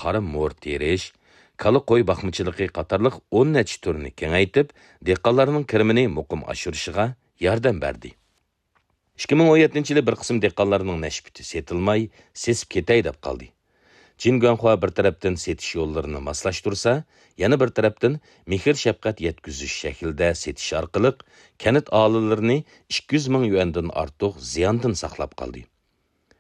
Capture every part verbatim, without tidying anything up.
قارا مور تېرىش، كالا قوي باقمىچىلىقى قاتارلىق ئون نەچچە تۈرنى كېڭەيتىپ، دېھقانلارنىڭ كىرىمىنى مۇقىم ئاشۇرۇشىغا ياردەم بەردى. ئىككى مىڭ ئون يەتتىنچى يىلى بىر قىسىم دېھقانلارنىڭ نەشپۈتى سېتىلماي، سېسىپ كېتەي دەپ قالدى. جىن گۇەنخۇا بىر تەرەپتىن سېتىش يوللىرىنى ماسلاشتۇرسا، يەنە بىر تەرەپتىن مېھىر-شەپقەت يەتكۈزۈش شەكلىدە سېتىش ئارقىلىق كەنت ئاھالىلىرىنى ئىككى يۈز مىڭ يۈەندىن ئارتۇق زىياندىن ساقلاپ قالدى.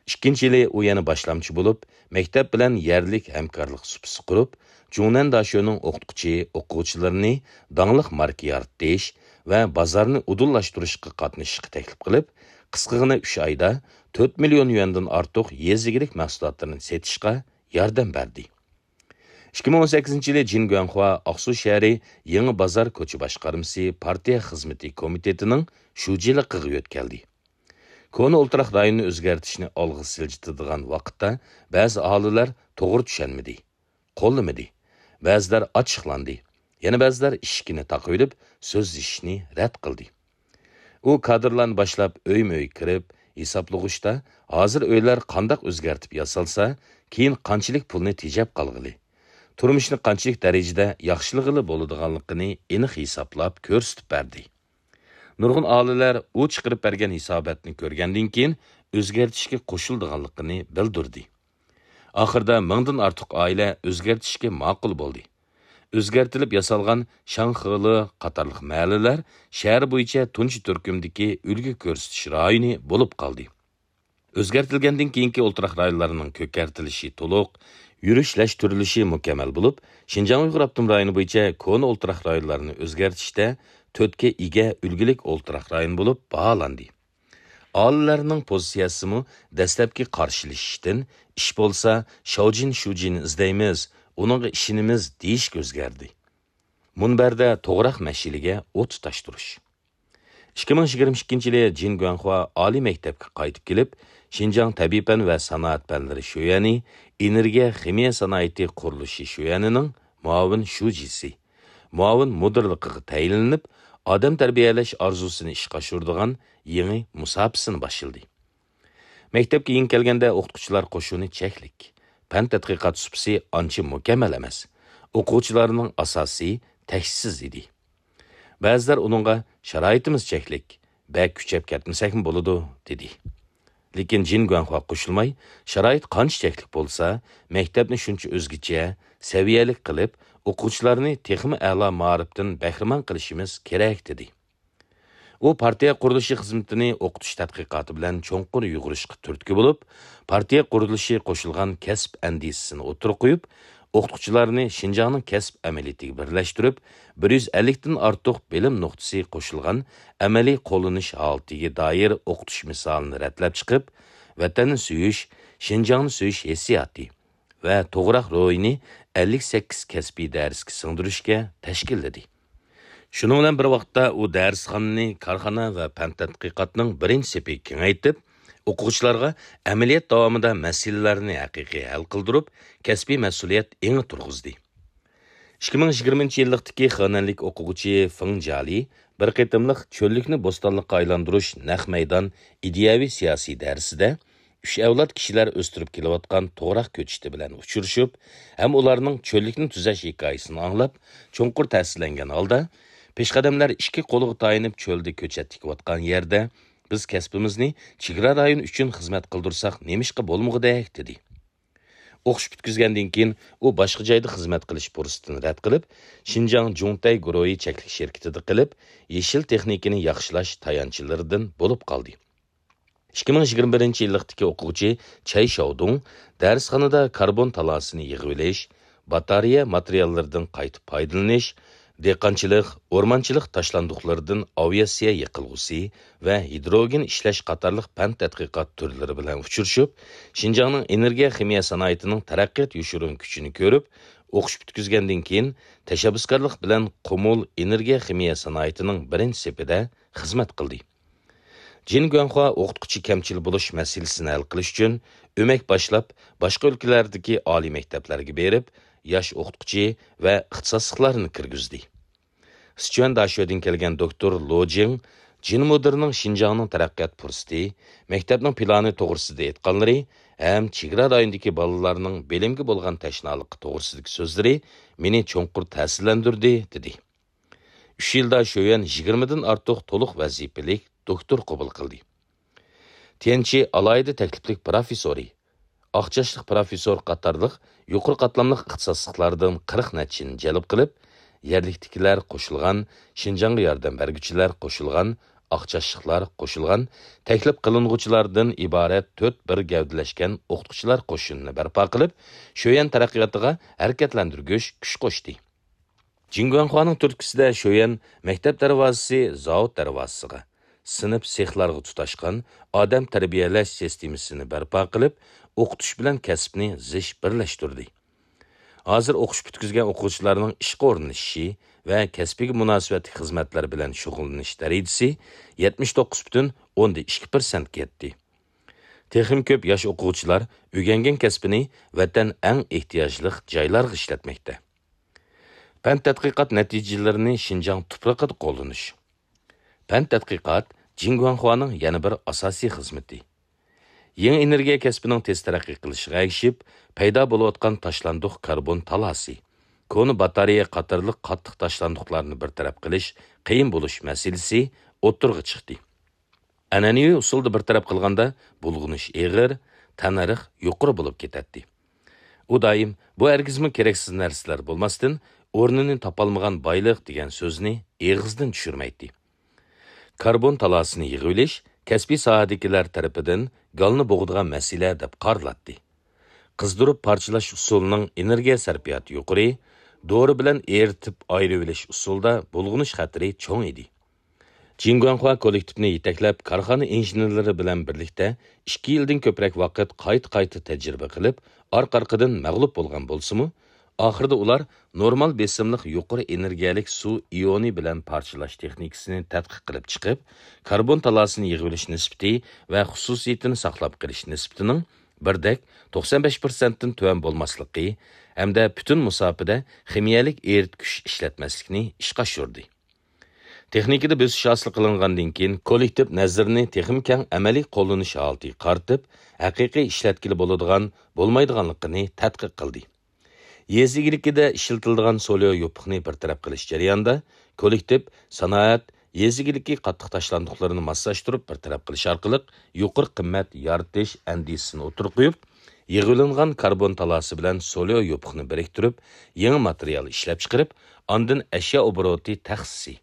ئىككىنچى يىلى ئۇ يەنە باشلامچى بولۇپ، مەكتەپ بىلەن يەرلىك ھەمكارلىق سۇپىسى قۇرۇپ، جۇڭنەن داشۆنىڭ ئوقۇتقۇچى، ئوقۇغۇچىلىرىنى داڭلىق ماركا يارىتىش ۋە بازارنى ئۇدۇللاشتۇرۇشقا قاتنىشىشقا تەكلىپ قىلىپ، قىسقىغىنە ئۈچ ئايدا تۆت مىليون يۈەندىن ئارتۇق يېزا ئىگىلىك مەھسۇلاتلىرىنى سېتىشقا ياردەم بەردى. ئىككى مىڭ ئون سەككىزىنچى يىلى جىن گۇەنخۇا ئاقسۇ شەھىرى يېڭى بازار كوچا باشقارمىسى پارتىيە خىزمىتى كومىتېتىنىڭ شۇجىلىقىغا يۆتكەلدى. كونا ئولتۇراق رايونىنى ئۆزگەرتىشنى ئالغا سىلجىتىدىغان ۋاقىتتا بەزى ئاھالىلەر توغرا چۈشەنمىدى، قوللىمىدى. بەزىلەر ئاچچىقلاندى. يەنە بەزىلەر ئىشىكىنى تاقىۋېلىپ سۆزلىشىشنى رەت قىلدى. ئۇ كادىرلارنى باشلاپ ئۆيمۇ ئۆي كىرىپ، ھېسابلىغۇچتا ھازىر ئۆيلەر قانداق ئۆزگەرتىپ ياسالسا، كېيىن قانچىلىك پۇلنى تېجەپ قالغىلى، تۇرمۇشنى قانچىلىك دەرىجىدە ياخشىلىغىلى بولىدىغانلىقىنى ئېنىق ھېسابلاپ كۆرسىتىپ بەردى. نۇرغۇن ئاھالىلەر ئۇ چىقىرىپ بەرگەن ھېساباتنى كۆرگەندىن كېيىن ئۆزگەرتىشكە قوشۇلىدىغانلىقىنى بىلدۈردى. ئاخىرىدا مىڭدىن ئارتۇق ئائىلە ئۆزگەرتىشكە ماقۇل بولدى. ئۆزگەرتىلىپ ياسالغان شاڭخېلى قاتارلىق مەھەللىلەر شەھەر بويىچە تۇنجى تۈركۈمدىكى ئۈلگە كۆرسىتىش رايونى بولۇپ قالدى. ئۆزگەرتىلگەندىن كېيىنكى ئولتۇراق رايونلارنىڭ كۆكەرتىلىشى تولۇق، يۈرۈشلەشتۈرۈلۈشى مۇكەممەل بولۇپ، شىنجاڭ ئۇيغۇر ئاپتونوم رايونى بويىچە كونا ئولتۇراق رايونلارنى ئۆزگەرتىشتە تۆتكە ئىگە ئۈلگىلىك ئولتۇراق رايون بولۇپ باھالاندى. ئاھالىلەرنىڭ پوزىتسىيەسىمۇ دەسلەپكى قارشىلىشىشتىن، ئىش بولسا شاۋجىن شۇجىنى ئىزدەيمىز، ئۇنىڭغا ئىشىنىمىز دېيىشكە ئۆزگەردى. مۇنبەردە توغراق مەشئىلىگە ئوت تۇتاشتۇرۇش. ئىككى مىڭ يىگىرمە ئىككىنچى يىلى جىن گۇەنخۇا ئالىي مەكتەپكە قايتىپ كېلىپ، شىنجاڭ تەبىئىي پەن ۋە سانائەت پەنلىرى شۆيۈەنى ئېنېرگىيە خىمىيە سانائىتى قۇرۇلۇشى شۆيۈەنىنىڭ مۇئاۋىن شۇجىسى، مۇئاۋىن مۇدىرلىقىغا تەيىنلىنىپ، ئادەم تەربىيەلەش ئارزۇسىنى ئىشقا ئاشۇرىدىغان يېڭى مۇساپىسىنى باشلىدى. مەكتەپكە يېڭى كەلگەندە ئوقۇتقۇچىلار قوشۇنى چەكلىك، پەن تەتقىقات سۇپىسى ئانچە مۇكەممەل ئەمەس، ئوقۇغۇچىلارنىڭ ئاساسى تەكشىسىز ئىدى. بەزىلەر ئۇنىڭغا شارائىتىمىز چەكلىك، بەك كۈچەپ كەتمىسەكمۇ بولىدۇ، دېدى. لېكىن جىن گۇەنخۇا قوشۇلماي، شارائىت قانچە چەكلىك بولسا، مەكتەپنى شۇنچە ئۆزگىچە، سەۋىيەلىك قىلىپ، ئوقۇغۇچىلارنى تېخىمۇ ئەلا مائارىپتىن بەھرىمەن قىلىشىمىز كېرەك، دېدى. ئۇ پارتىيە قۇرۇلۇشى خىزمىتىنى ئوقۇتۇش تەتقىقاتى بىلەن چوڭقۇر يۇغۇرۇشقا تۈرتكە بولۇپ، پارتىيە قۇرۇلۇشى قوشۇلغان كەسىپ ئەندىزىسىنى ئوتتۇرىغا قويۇپ، ئوقۇتقۇچىلارنى شىنجاڭنىڭ كەسىپ ئەمەلىيىتىگە بىرلەشتۈرۈپ، بىر يۈز ئەللىكتىن ئارتۇق بىلىم نۇقتىسى قوشۇلغان ئەمەلىي قوللىنىش ھالىتىگە دائىر ئوقۇتۇش مىسالىنى رەتلەپ چىقىپ، ۋەتەننى سۆيۈش، شىنجاڭنى سۆيۈش ھېسسىياتى ۋە توغراق روھىنى ئەللىك سەككىز كەسپىي دەرسكە سىڭدۈرۈشكە تەشكىللىدى. شۇنىڭ بىلەن بىر ۋاقىتتا، ئۇ دەرسخانىنى كارخانا ۋە پەن تەتقىقاتنىڭ بىرىنچى سېپىگە كېڭەيتىپ، ئوقۇغۇچىلارغا ئەمەلىيەت داۋامىدا مەسىلىلەرنى ھەقىقىي ھەل قىلدۇرۇپ، كەسپىي مەسئۇلىيەت ئېڭى تۇرغۇزدى. ئىككى مىڭ يىگىرمىنچى يىللىقتىكى خېنەنلىك ئوقۇغۇچى فېڭ جالى بىر قېتىملىق چۆللۈكنى بوستانلىققا ئايلاندۇرۇش نەق مەيدان ئىدىيەۋى سىياسىي دەرسىدە ئۈچ ئەۋلاد كىشىلەر ئۆستۈرۈپ كېلىۋاتقان توغراق كۆچىتى بىلەن ئۇچرىشىپ، ھەم ئۇلارنىڭ چۆللۈكنى تۈزەش ھېكايىسىنى ئاڭلاپ، چوڭقۇر تەسىرلەنگەن ھالدا، پېشقەدەملەر ئىككى قولىغا تايىنىپ چۆلدە كۆچەت تىكىۋاتقان يەردە، بىز كەسپىمىزنى چېگرا رايون ئۈچۈن خىزمەت قىلدۇرساق نېمىشقا بولمىغۇدەك؟ دېدى. ئوقۇش پۈتكۈزگەندىن كېيىن ئۇ باشقا جايدا خىزمەت قىلىش پۇرسىتىنى رەت قىلىپ، شىنجاڭ جۇڭتەي گۇرۇھى چەكلىك شىركىتىدە قىلىپ، يېشىل تېخنىكىنى ياخشىلاش تايانچلىرىدىن بولۇپ قالدى. ئىككى مىڭ يىگىرمە بىرىنچى يىللىقتىكى ئوقۇغۇچى چەي شاۋدۇڭ دەرسخانىدا كاربون تالاسىنى يىغىۋېلىش، باتارېيە ماتېرىياللىرىدىن قايتا پايدىلىنىش، دېھقانچىلىق، ئورمانچىلىق تاشلاندۇقلىرىدىن ئاۋىئاتسىيە يېقىلغۇسى ۋە ھىدروگېن ئىشلەش قاتارلىق پەن تەتقىقات تۈرلىرى بىلەن ئۇچرىشىپ، شىنجاڭنىڭ ئېنېرگىيە خىمىيە سانائىتىنىڭ تەرەققىيات يوشۇرۇن كۈچىنى كۆرۈپ، ئوقۇش پۈتكۈزگەندىن كېيىن تەشەببۇسكارلىق بىلەن قۇمۇل ئېنېرگىيە خىمىيە سانائىتىنىڭ بىرىنچى سېپىدە خىزمەت قىلدى. جىن گۇەنخۇا ئوقۇتقۇچى كەمچىل بولۇش مەسىلىسىنى ھەل قىلىش ئۈچۈن ئۆمەك باشلاپ، باشقا ئۆلكىلەردىكى ئالىي مەكتەپلەرگە بېرىپ، ياش ئوقۇتقۇچى ۋە ئىختىساسلىقلارنى كىرگۈزدى. سىچۈەن داشۆدىن كەلگەن دوكتور لو جىڭ جىن مۇدىرنىڭ شىنجاڭنىڭ تەرەققىيات پۇرسىتى، مەكتەپنىڭ پىلانى توغرىسىدا ئېيتقانلىرى ھەم چېگرا رايونىدىكى بالىلارنىڭ بىلىمگە بولغان تەشنالىقى توغرىسىدىكى سۆزلىرى مېنى چوڭقۇر تەسىرلەندۈردى، دېدى. ئۈچ يىلدا شۆيۈەن يىگىرمىدىن ئارتۇق تولۇق ۋەزىپىلىك دوكتور قوبۇل قىلدى. تيەنچى ئالاھىدە تەكلىپلىك پىروفېسسورى، ئاق چاچلىق پىروفېسسور قاتارلىق يۇقىرى قاتلاملىق ئىختىساسلىقلاردىن قىرىق نەچچىنى جەلپ قىلىپ، يەرلىكتىكىلەر قوشۇلغان، شىنجاڭغا ياردەم بەرگۈچىلەر قوشۇلغان، ئاق چاچلىقلار قوشۇلغان، تەكلىپ قىلىنغۇچىلاردىن ئىبارەت تۆت بىر گەۋدىلەشكەن ئوقۇتقۇچىلار قوشۇنىنى بەرپا قىلىپ، شۆيەن تەرەققىياتىغا ھەرىكەتلەندۈرگۈچ كۈچ قوشتى. جىنگۇەنخۇانىڭ تۈرتكىسىدە شۆيەن مەكتەپ دەرۋازىسى زاۋۇت دەرۋازىسىغا، سىنىپ سېخلارغا تۇتاشقان ئادەم تەربىيەلەش سىستېمىسىنى بەرپا قىلىپ، ئوقۇتۇش بىلەن كەسىپنى زىچ بىرلەشتۈردى. ھازىر ئوقۇش پۈتكۈزگەن ئوقۇغۇچىلارنىڭ ئىشقا ئورۇنلىشىشى ۋە كەسپىگە مۇناسىۋەتلىك خىزمەتلەر بىلەن شۇغۇللىنىش دەرىجىسى يەتمىش توققۇز پۈتۈن ئوندىن ئىككى پىرسەنتكە يەتتى. تېخىمۇ كۆپ ياش ئوقۇغۇچىلار ئۆگەنگەن كەسپىنى ۋەتەن ئەڭ ئېھتىياجلىق جايلارغا ئىشلەتمەكتە. پەن تەتقىقات نەتىجىلىرىنى شىنجاڭ تۇپرىقىدا قوللىنىش. پەن تەتقىقات جىنگۇەنخۇانىڭ يەنە بىر ئاساسىي خىزمىتى. يېڭى ئېنېرگىيە كەسپىنىڭ تېز تەرەققىي قىلىشىغا ئەگىشىپ، پەيدا بولۇۋاتقان تاشلاندۇق كاربون تالاسى، كونا باتارېيە قاتارلىق قاتتىق تاشلاندۇقلارنى بىر تەرەپ قىلىش قىيىن بولۇش مەسىلىسى ئوتتۇرىغا چىقتى. ئەنئەنىۋى ئۇسۇلدا بىر تەرەپ قىلغاندا، بۇلغىنىش ئېغىر، تەننەرخ يۇقىرى بولۇپ كېتەتتى. ئۇ دائىم، «بۇ ھەرگىزمۇ كېرەكسىز نەرسىلەر بولماستىن، ئورنىنى تاپالمىغان بايلىق» دېگەن سۆزنى ئېغىزدىن چۈشۈرمەيتتى. كاربون تالاسىنى يىغىۋېلىش كەسپىي ساھەدىكىلەر تەرىپىدىن گالنى بوغىدىغان مەسىلە دەپ قارىلاتتى. قىزدۇرۇپ پارچىلاش ئۇسۇلىنىڭ ئېنېرگىيە سەرپىياتى يۇقىرى، دورا بىلەن ئېرىتىپ ئايرىۋېلىش ئۇسۇلىدا بۇلغىنىش خەتىرى چوڭ ئىدى. جىنگۇەنخۇا كوللېكتىپنى يېتەكلەپ، كارخانا ئىنژېنېرلىرى بىلەن بىرلىكتە ئىككى يىلدىن كۆپرەك ۋاقىت قايتا-قايتا تەجرىبە قىلىپ، ئارقا-ئارقىدىن مەغلۇپ بولغان بولسىمۇ، ئاخىرىدا ئۇلار نورمال بېسىملىق يۇقىرى ئېنېرگىيەلىك سۇ ئىيونى بىلەن پارچىلاش تېخنىكىسىنى تەتقىق قىلىپ چىقىپ، كاربون تالاسىنى يىغىۋېلىش نىسبىتى ۋە خۇسۇسىيىتىنى ساقلاپ قېلىش نىسبىتىنىڭ بىردەك توقسان بەش پىرسەنتتىن تۆۋەن بولماسلىقى ھەمدە پۈتۈن مۇساپىدە خىمىيەلىك ئېرىتكۈچ ئىشلەتمەسلىكنى ئىشقا ئاشۇردى. تېخنىكىدا بۆسۈش ھاسىل قىلىنغاندىن كېيىن، كوللېكتىپ نەزىرىنى تېخىمۇ كەڭ ئەمەلىي قوللىنىش ھالىتىگە قارىتىپ، ھەقىقىي ئىشلەتكىلى بولىدىغان، بولمايدىغانلىقىنى تەتقىق قىلدى. يېزا ئىگىلىكىدە ئىشلىتىلىدىغان سوليو يوپۇقنى بىر تەرەپ قىلىش جەريانىدا، كوللېكتىپ سانائەت، يېزا ئىگىلىكى قاتتىق تاشلاندۇقلىرىنى ماسلاشتۇرۇپ بىر تەرەپ قىلىش ئارقىلىق يۇقىرى قىممەت يارىتىش ئەندىزىسىنى ئوتتۇرىغا قويۇپ، يىغىۋېلىنغان كاربون تالاسى بىلەن سوليو يوپۇقنى بىرىكتۈرۈپ، يېڭى ماتېرىيال ئىشلەپچىقىرىپ، ئاندىن ئەشيا ئوبوروتى تەخسىسى،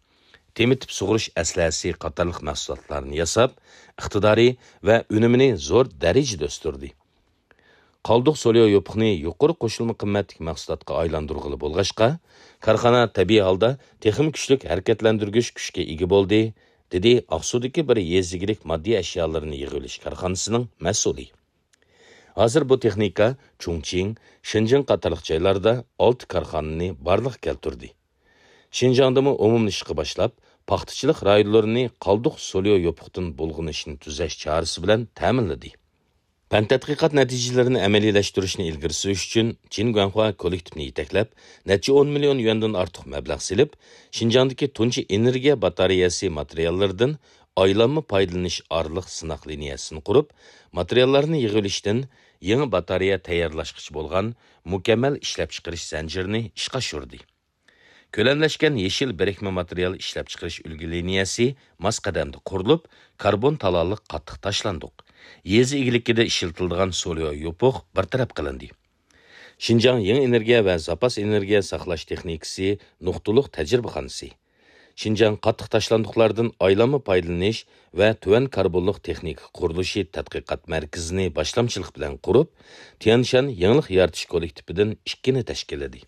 تېمىتىپ سۇغۇرۇش ئەسلىھەسى قاتارلىق مەھسۇلاتلارنى ياساپ، ئىقتىدارى ۋە ئۈنۈمىنى زور دەرىجىدە ئۆستۈردى. قالدۇق سوليو يوپۇقنى يۇقىرى قوشۇلما قىممەتلىك مەھسۇلاتقا ئايلاندۇرغىلى بولغاچقا، كارخانا تەبىئىي ھالدا تېخىمۇ كۈچلۈك ھەرىكەتلەندۈرگۈچ كۈچكە ئىگە بولدى، دېدى ئاقسۇدىكى بىر يېزا ئىگىلىك ماددىي ئەشيالىرىنى يىغىۋېلىش كارخانىسىنىڭ مەسئۇلى. ھازىر بۇ تېخنىكا چۇڭچىڭ، شېنجېن قاتارلىق جايلاردا ئالتە كارخانىنى بارلىققا كەلتۈردى. شىنجاڭدىمۇ ئومۇملىشىشقا باشلاپ، پاختىچىلىق رايونلىرىنى قالدۇق سوليو يوپۇقتىن بۇلغىنىشنى تۈزەش چارىسى بىلەن تەمىنلىدى. پەن تەتقىقات نەتىجىلىرىنى ئەمەلىيلەشتۈرۈشنى ئىلگىرى سۈرۈش ئۈچۈن، جىن گۇەنخۇا كوللېكتىپنى يېتەكلەپ، نەچچە ئون مىليون يۈەندىن ئارتۇق مەبلەغ سېلىپ، شىنجاڭدىكى تۇنجى ئېنېرگىيە باتارېيەسى ماتېرىياللىرىدىن ئايلانما پايدىلىنىش ئارىلىق سىناق لىنىيەسىنى قۇرۇپ، ماتېرىياللارنى يىغىۋېلىشتىن يېڭى باتارېيە تەييارلاشقىچە بولغان مۇكەممەل ئىشلەپچىقىرىش زەنجىرىنى ئىشقا ئاشۇردى. كۆلەملەشكەن يېشىل بىرىكمە ماتېرىيال ئىشلەپچىقىرىش ئۈلگە لىنىيەسى ماس قەدەمدە قۇرۇلۇپ، كاربون تالالىق قاتتىق تاشلاندۇق، يېزا ئىگىلىكىدە ئىشلىتىلىدىغان سوليو يوپۇق بىر تەرەپ قىلىندى. شىنجاڭ يېڭى ئېنېرگىيە ۋە زاپاس ئېنېرگىيە ساقلاش تېخنىكىسى نۇقتىلىق تەجرىبىخانىسى، شىنجاڭ قاتتىق تاشلاندۇقلاردىن ئايلانما پايدىلىنىش ۋە تۆۋەن كاربونلۇق تېخنىكا قۇرۇلۇشى تەتقىقات مەركىزىنى باشلامچىلىق بىلەن قۇرۇپ، تيەنشان يېڭىلىق يارىتىش كوللېكتىپىدىن ئىككىنى تەشكىللىدى.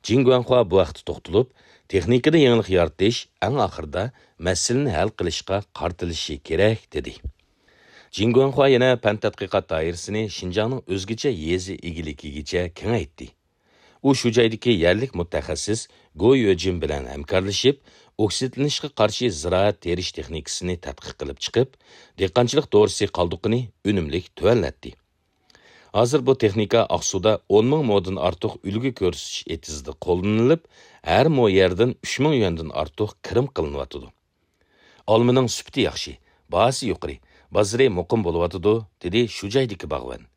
جىن گۇەنخۇا بۇ ھەقتە توختىلىپ، تېخنىكىدا يېڭىلىق يارىتىش ئەڭ ئاخىرىدا مەسىلىنى ھەل قىلىشقا قارىتىلىشى كېرەك، دېدى. جىن گۇەنخۇا يەنە پەن تەتقىقات دائىرىسىنى شىنجاڭنىڭ ئۆزگىچە يېزا ئىگىلىكىگىچە كېڭەيتتى. ئۇ شۇ جايدىكى يەرلىك مۇتەخەسسىس گو يۆجىن بىلەن ھەمكارلىشىپ، ئوكسىدلىنىشقا قارشى زىرائەت تېرىش تېخنىكىسىنى تەتقىق قىلىپ چىقىپ، دېھقانچىلىق دورىسى قالدۇقىنى ئۈنۈملۈك تۆۋەنلەتتى. ھازىر بۇ تېخنىكا ئاقسۇدا ئون مىڭ مودىن ئارتۇق ئۈلگە كۆرسىتىش ئېتىزىدا قوللىنىلىپ، ھەر مو يەردىن ئۈچ مىڭ يۈەندىن ئارتۇق كىرىم قىلىنىۋاتىدۇ. «ئالمىنىڭ سۈپىتى ياخشى، باھاسى يۇقىرى، بازىرى مۇقىم بولۇۋاتىدۇ»، دېدى شۇ جايدىكى باغۋەن.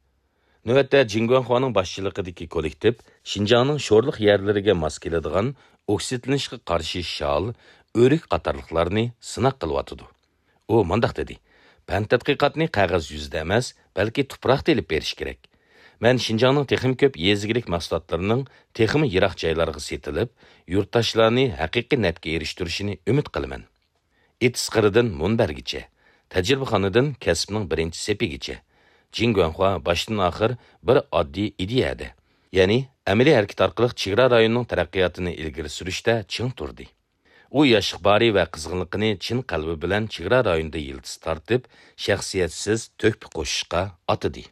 نۆۋەتتە جىن گۇەنخۇانىڭ باشچىلىقىدىكى كوللېكتىپ شىنجاڭنىڭ شورلۇق يەرلىرىگە ماس كېلىدىغان ئوكسىدلىنىشقا قارشى شال، ئۆرۈك قاتارلىقلارنى سىناق قىلىۋاتىدۇ. ئۇ مۇنداق دېدى: «پەن تەتقىقاتنى قەغەز يۈزىدە ئەمەس، بەلكى تۇپراقتا ئېلىپ بېرىش كېرەك. مەن شىنجاڭنىڭ تېخىمۇ كۆپ يېزا ئىگىلىك مەھسۇلاتلىرىنىڭ تېخىمۇ يىراق جايلارغا سېتىلىپ، يۇرتداشلارنى ھەقىقىي نەپكە ئېرىشتۈرۈشىنى ئۈمىد قىلىمەن.» ئېتىز قىرىدىن مۇنبەرگىچە، تەجرىبىخانىدىن كەسىپنىڭ بىرىنچى سېپىگىچە، جىن گۇەنخۇا باشتىن-ئاخىر بىر ئاددىي ئىدىيەدە، يەنى ئەمەلىي ھەرىكەت ئارقىلىق چېگرا رايونىنىڭ تەرەققىياتىنى ئىلگىرى سۈرۈشتە چىڭ تۇردى. ئۇ ياش ئىقبالى ۋە قىزغىنلىقىنى چىن قەلبى بىلەن چېگرا رايونىدا يىلتىز تارتىپ، شەخسىيەتسىز تۆھپە قوشۇشقا ئاتىدى.